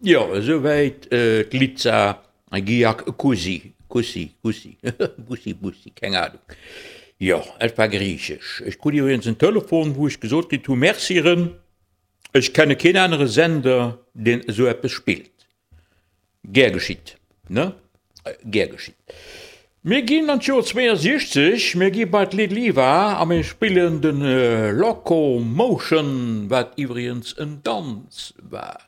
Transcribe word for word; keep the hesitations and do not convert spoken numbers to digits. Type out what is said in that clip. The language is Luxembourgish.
Jo, esouwäit d'Litza Giakousi, Kussi, Kussi, Bussi, Bussi, keng Ahnung. Jo, et war griichesch. Ech krut iwwregens en Telefon, wou ech gesot kritt hu, Merci Rën, ech kenne keen anere Sender, deen esou eppes spillt. Gär geschitt, ne? Gär geschitt. Mir ginn an d'Joer zweeënsiechzeg, mir gi bei d'Little Eva a mir spillen de Locomotion, wat iwwregens en Danz war.